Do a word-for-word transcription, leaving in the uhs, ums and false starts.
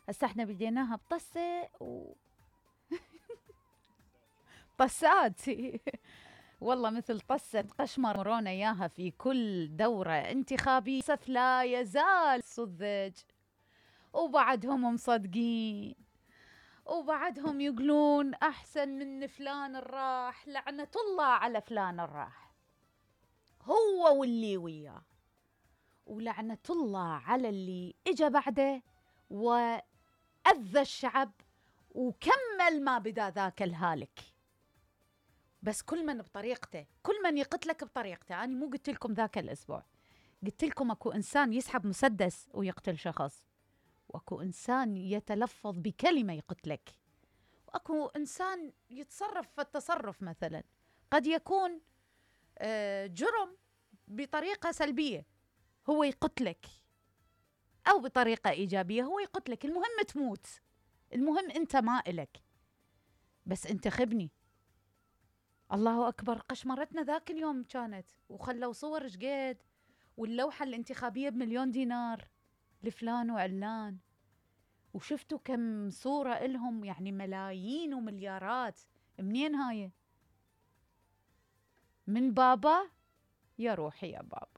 هسه احنا بديناها بطسة و طسات والله مثل طسة قشمر مرونا اياها في كل دورة انتخابية. للأسف لا يزال السذج وبعدهم مصدقين وبعدهم يقولون احسن من فلان الراح، لعنة الله على فلان الراح هو واللي وياه، ولعنة الله على اللي اجى بعده وأذى الشعب وكمل ما بدا ذاك الهالك. بس كل من بطريقته، كل من يقتلك بطريقته. أنا مو قلت لكم ذاك الأسبوع، قلت لكم أكو إنسان يسحب مسدس ويقتل شخص، وأكو إنسان يتلفظ بكلمة يقتلك، وأكو إنسان يتصرف في التصرف. مثلا قد يكون جرم بطريقة سلبية هو يقتلك، أو بطريقة إيجابية هو يقتلك. المهم تموت، المهم أنت ما إلك. بس انتخبني. الله أكبر، قشمرتنا ذاك اليوم كانت، وخلوا صور شقد، واللوحة الانتخابية بمليون دينار لفلان وعلان، وشفتوا كم صورة إلهم، يعني ملايين ومليارات. منين هاي؟ من بابا؟ يا روحي يا بابا.